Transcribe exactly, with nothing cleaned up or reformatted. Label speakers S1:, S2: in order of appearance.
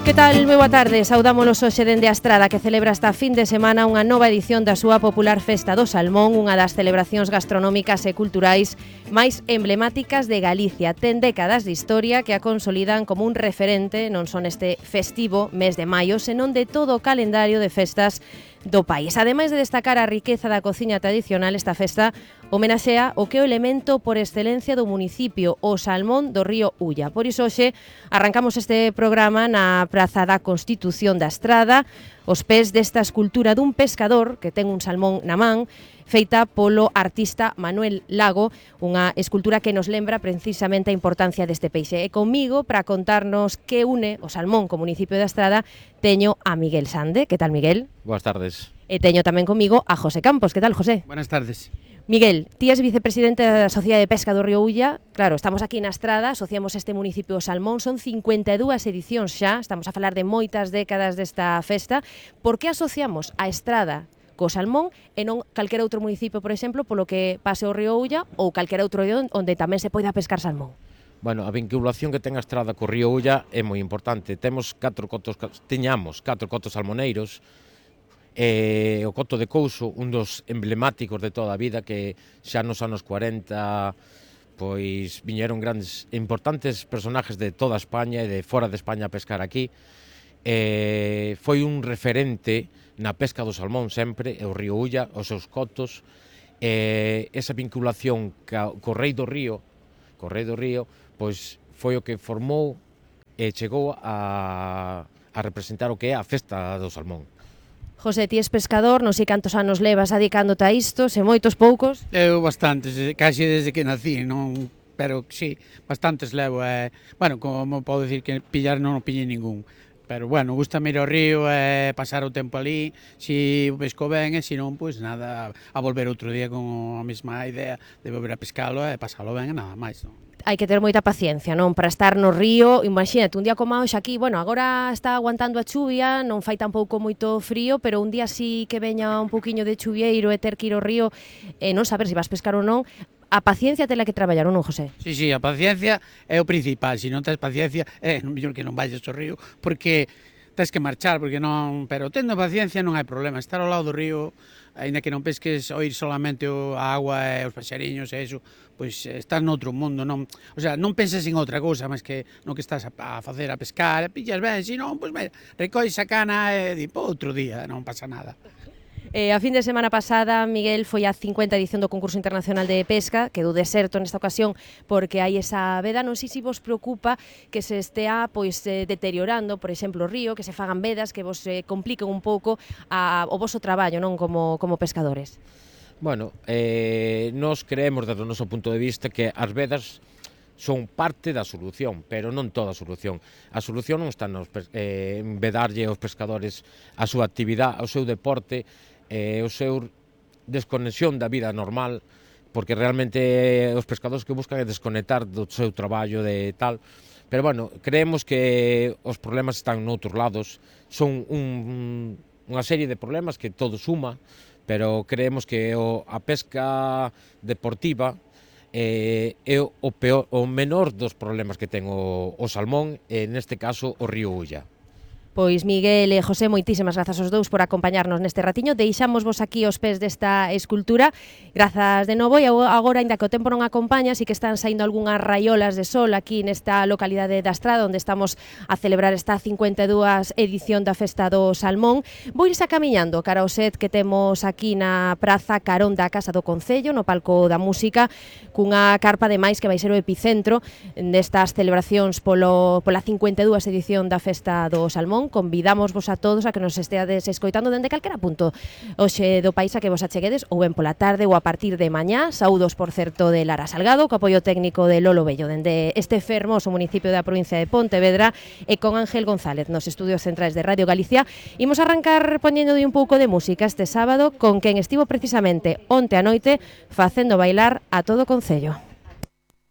S1: Que tal? Moi boa tarde, saudámonos hoxe dende a Estrada, que celebra esta fin de semana unha nova edición da súa popular Festa do Salmón, unha das celebracións gastronómicas e culturais máis emblemáticas de Galicia. Ten décadas de historia que a consolidan como un referente non son este festivo mes de maio, senón de todo o calendario de festas do país. Ademais de destacar a riqueza da cociña tradicional, esta festa homenaxea o que é o elemento por excelencia do municipio, o salmón do río Ulla. Por iso hoxe arrancamos este programa na Praza da Constitución da Estrada, os pés desta escultura dun pescador que ten un salmón na man, feita polo artista Manuel Lago, unha escultura que nos lembra precisamente a importancia deste peixe. E comigo, para contarnos que une o salmón co municipio da Estrada, teño a Miguel Sande. Que tal, Miguel?
S2: Boas tardes.
S1: E teño tamén comigo a José Campos. Que tal, José?
S3: Buenas tardes.
S1: Miguel, ti és vicepresidente da Sociedade de Pesca do Río Ulla. Claro, estamos aquí na Estrada, asociamos este municipio ao salmón, son cincuenta e dúas edicións xa, estamos a falar de moitas décadas desta festa. Por que asociamos a Estrada co salmón e non calquera outro municipio, por exemplo, polo que pase o río Ulla ou calquera outro río onde tamén se poida pescar salmón?
S2: Bueno, a vinculación que ten a Estrada co río Ulla é moi importante. Temos catro cotos, tiñamos catro cotos salmoneiros, e o coto de Couso, un dos emblemáticos de toda a vida, que xa nos anos cuarenta pois viñeron grandes e importantes personajes de toda España e de fora de España a pescar aquí. E foi un referente na pesca do salmón sempre, e o río Ulla, os seus cotos, e esa vinculación co rei do río, co rei do río, pois foi o que formou e chegou a, a representar o que é a festa do salmón.
S1: José, ti és pescador, non sei cantos anos levas adicándote a isto, se moitos, poucos?
S3: Eu bastantes, casi desde que nací, non, pero sí, bastantes levo. Eh, bueno, como podo dicir que pillar non o pillei ningún. Pero, bueno, gusta ir ao río e eh, pasar o tempo ali, si o pesco ben e se non, pois nada, a volver outro día con a mesma idea de volver a pescalo e pasalo ben e nada máis, non?
S1: Hai que ter moita paciencia, non? Para estar no río, imagínate, un día como hoxe aquí, bueno, agora está aguantando a chuvia, non fai tampouco moito frío, pero un día sí que veña un pouquiño de chuvieiro e ter que ir ao río e non saber se vas pescar ou non, a paciencia tela que traballar, ou non, José?
S3: Sí, sí, a paciencia é o principal, se non tes paciencia, é non mellor que non vayas ao río, porque tes que marchar, porque non, pero tendo paciencia non hai problema, estar ao lado do río, aínda que non pesques, oír solamente a agua e os paxariños e iso, pois estás noutro mundo, non, o sea, non penses en outra cousa, máis que no que estás a, a facer, a pescar, e pillas ben, se non, pois mira, recois a cana e di, pô, outro día, non pasa nada.
S1: Eh, a fin de semana pasada, Miguel, foi a cincuenta edición do concurso internacional de pesca, quedou deserto nesta ocasión porque hai esa veda. Non sei se vos preocupa que se estea pois eh, deteriorando, por exemplo, o río, que se fagan vedas, que vos eh, compliquen un pouco a, o voso traballo, non, como, como pescadores.
S2: Bueno, eh, nos creemos desde o noso punto de vista que as vedas son parte da solución, pero non toda a solución. A solución non está nos, eh, en vedarlle aos pescadores a súa actividade, ao seu deporte, e o seu desconexión da vida normal, porque realmente os pescadores que buscan é desconectar do seu traballo de tal, pero bueno, creemos que os problemas están noutros lados, son un, unha serie de problemas que todo suma, pero creemos que o, a pesca deportiva eh, é o, peor, o menor dos problemas que ten o, o salmón, e neste caso o río Ulla.
S1: Pois Miguel e José, moitísimas grazas aos dous por acompañarnos neste ratiño. Deixamos vos aquí aos pés desta escultura. Grazas de novo, e agora, ainda que o tempo non acompaña, si que están saindo algunhas raiolas de sol aquí nesta localidade da Estrada, onde estamos a celebrar esta cincuenta e dúas edición da Festa do Salmón. Vou irse camiñando cara ao set que temos aquí na Praza Carón da Casa do Concello, no palco da música, cunha carpa ademais que vai ser o epicentro destas celebracións polo, pola cincuenta e dúas edición da Festa do Salmón. Convidamos vos a todos a que nos esteades escoitando dende calquera punto hoxe do país a que vos acheguedes, ou ben pola tarde ou a partir de mañá. Saúdos, por certo, de Lara Salgado, co apoio técnico de Lolo Bello dende este fermoso municipio da provincia de Pontevedra, e con Ángel González nos estudios centrais de Radio Galicia. Imos arrancar poñendo un pouco de música este sábado con quen estivo precisamente onte a noite facendo bailar a todo o Concello.